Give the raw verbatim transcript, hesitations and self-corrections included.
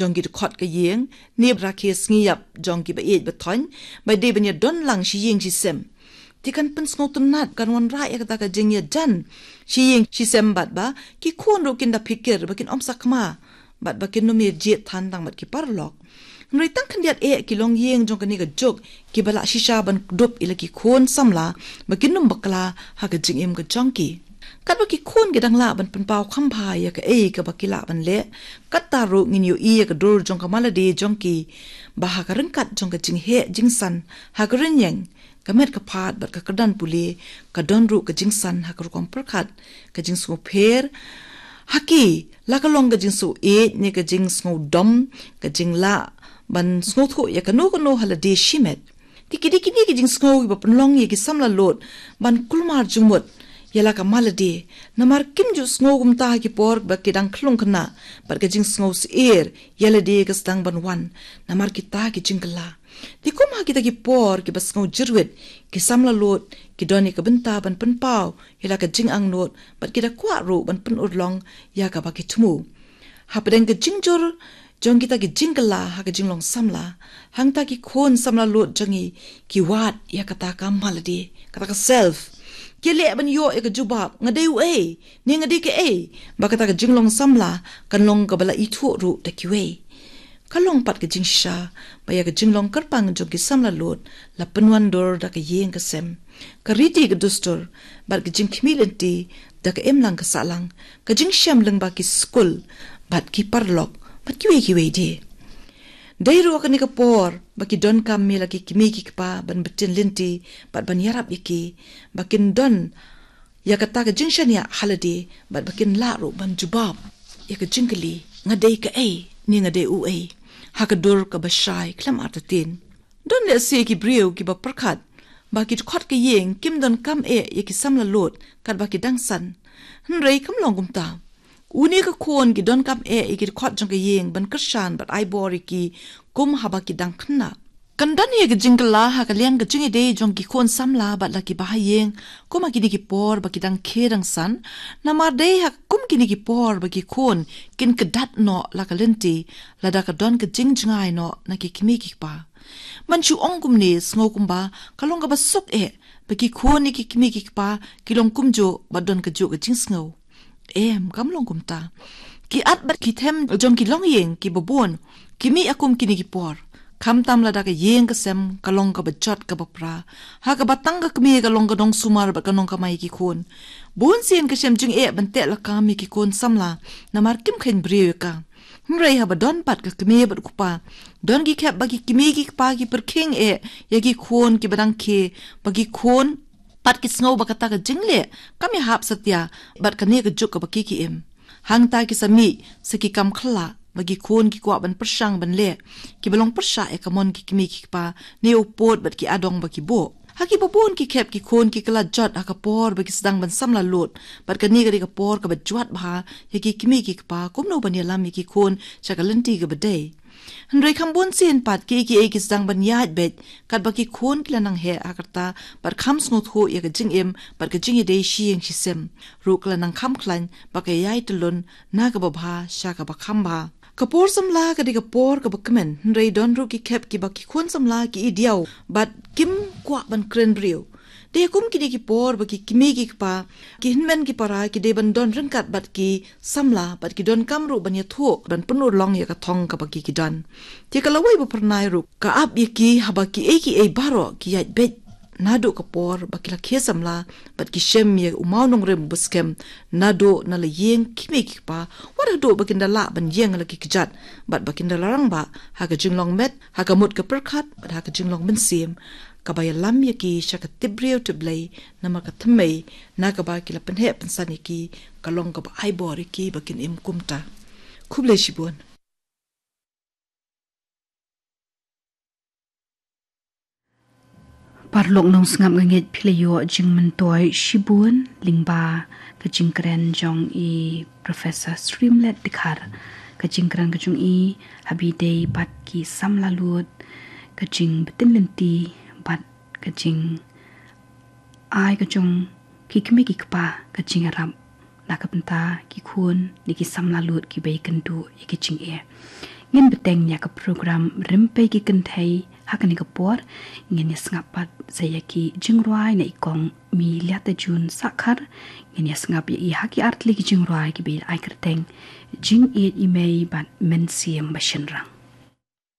jong ki dkhot ka ïing, ne rakhe sngi ïap jong ki ba ïeit ba thoiñ, ba dei ban ïa don lang shi ïing shi sem. Te kan pynsngewtynnat, kan wanrah ïa kata ka jingïajan shi ïing shi sem bad ba ki khun ruh kin da phikir ba kin ym sakma, bad ba kin ym ïa jied than tang bad ki paralok. Hynrei tang khyndiat eh ki longïing jong kane ka juk ki ba lah shisha ban kdup ïa la ki khun samla ba kin ym bakla ha ka jingim ka jong ki. Katba ki khun ki dang lah ban pynpaw kham bha ïa kaei kaba ki lah ban leh, katta ruh ngin ïohi ïa ka dur jong ka malade jong ki, ba ha ka ryngkat jong ka jingheh jingsan ha ka rynïeng, ka met ka phad bad ka kyrdan pule, ka don ruh ka jingsan ha ka rukom pyrkhat, ka jingsngewpher ha ki, la ka long ka jingsngewieid ne ka jingsngewdom, ka jinglah ban sngewthuh ïa kano kano ha lade shimet. Te ki dei kine ki jingsngew kiba pynlong ïa ki samla lud ban kulmar jingmut ïa la ka malade, namar kim ju sngew kumta ha ki por ba ki dang khlung khynnah, bad ka jingsngew syier ïa lade ka sdang ban wan namar kita ki jingkylla. Te kum ha kita ki por kiba sngew jyrwit, ki samla lud ki don ïa ka bynta ban pynpaw ïa la ka jingangnud, bad ki da kwah ruh ban pynurlong ïa kaba ki thmu. Hapdeng ka jingjur jong kita ki jingkylla ha ka jinglong samla, hangta ki khun samla lud jong ngi ki wad ïa kata ka malade, kata ka self. Ki leh ban ïoh ïa ka jubab, nga dei uei ne nga dei kaei, ba kata ka jinglong samla kan long kaba la ithuh ruh da kiwei. Ka long pat ka jingshisha ba ïa ka jinglong kyrpang jong ki samla lud la pynwandur da ka ïing ka sem, ka riti ka dustur, bad ka jingkhmih lynti da ka imlang ka sahlang, ka jingshem lyngba ki skul bad ki paralok bad kiwei kiwei de. Dei ruh ha kane ka por ba ki donkam ïa la ki kmie ki kpa ban btin lynti bad ban ïarap ïa ki, ba kin don ïa kata ka jingshaniah ha lade, bad ba kin lah ruh ban jubab ïa ka jingkylli, nga dei kaei ne nga dei uei, ha ka dur kaba shai khlem artatien. Don lehse ki briew kiba pyrkhat ba ki dkhot ka ïing kim donkam eh ïa ki samla lud katba ki dang san. Hynrei kam long kumta. Une ka khun ki donkam eh ïa ki dkhot jong ka ïing ban kyrshan bad ai bor ïa ki kum haba ki dang khynnah. Kan don ïa ka jingkylla ha ka liang ka jingïadei jong ki khun samla bad la ki bahaïing, kum ha kine ki por ba ki dang khie dang san, namar dei ha kum kine ki por ba ki khun kin kdat noh la ka lynti, lada ka don ka jingjngai noh na ki kmie ki kpa. Man shu ong kumne, sngew kumba ka long kaba suk eh ba ki khun ne ki kmie ki kpa ki long kumjuh bad don kajuh ka jingsngew. Em, kam long kumta. Ki at bad ki them jong ki longïing kiba bun ki mih ïa kum kine ki por, khamtam lada ka ïing ka sem ka long kaba jot kaba pra, ha kaba tang ka kmie ka long ka nongsumar bad ka nongkamai ïa ki khun. Bun sien ka shem jingeh ban teh lakam ïa ki khun samla, namar kim kheiñ briew ïa ka. Hynrei haba don pat ka kmie bad u kpa, don ki khep ba ki kmie ki kpa ki pyrkhing eh ïa ki khun kiba dang khie, ba ki khun pat ki sngew ba kata ka jingleh kam ïahap satia bad kane ka juk kaba ki ki im. Hangta ki sa mih sa ki kam khyllah ba ki khun ki kwah ban pyrshang ban leh, kiba long pyrshah ïa ka mon ki kmie ki kpa, ne u pud bad ki adong ba ki buh. Ha kiba bun ki khep ki khun ki kylla jot ha ka por ba ki sdang ban samla lud, bad kane ka dei ka por kaba jwat bha ïa ki kmie ki kpa kumno ban ïalam ïa ki khun sha ka lynti kaba dei. Hynrei kham bun sien pat kiei kiei ki sdang ban ïaid beit katba ki khun ki la nang heh ha ka rta, bad kham sngewthuh ïa ka jingim bad ka jingïadei shi ïing shi sem ruh ka la nang kham khlaiñ, ba ka ïai tyllun na kaba bha sha kaba kham bha. Ka por samla ka dei ka por kaba kmen, hynrei don ruh ki khep kiba ki khun samla ki i diaw bad kim kwah ban kren briew. Dei kum kine ki por ba ki kmie ki kpa, ki hynmen ki para ki dei ban don ryngkat bad ki samla, bad ki donkam ruh ban ïathuh, ban pynurlong ïa ka thong kaba ki ki don. Te ka lawei ba phyrnai ruh ka ap ïa ki haba kiei kiei baroh ki ïaid beit naduh ka por ba ki la khie samla, bad ki shem ïa u mawnongrim ba skhem naduh na la ïing kmie ki kpa, wat haduh ba kin da lah ban ïeng la ki kjat, bad ba kin da la rangbah ha ka jinglong met, ha ka mut ka pyrkhat bad ha ka jinglong mynsiem, kaba ïalam ïa ki sha ka tip briew tip Blei, namar ka thymmei na kaba ki la pynheh pynsan ïa ki ka long kaba ai bor ïa ki ba kin im kumta. Khublei shibun. Paralok nongsngap, nga ngeit phi la ïoh jingmyntoi shibun lyngba ka jingkren jong i Professor Sriemliet Dkhar. Ka jingkren ka jong i ha ba ïadei bad ki samla lud, ka jingbtin lynti bad ka jingai ka jong ki kmie ki kpa ka jingïarap na ka bynta ki khun ne ki samla lud kiba ïakynduh ïa ka jingeh. Ngin bteng ïa ka program Rympei ki Kynthei ha kane ka por. Ngin ïa sngap pat sa ïa ki jingrwai na i kong Mylliata June Sahkhar. Ngin ïa sngap ïa i ha ki artylli ki jingrwai kiba ai kyrteng Jingïeit i Mei bad Mynsiem ba Shynrang.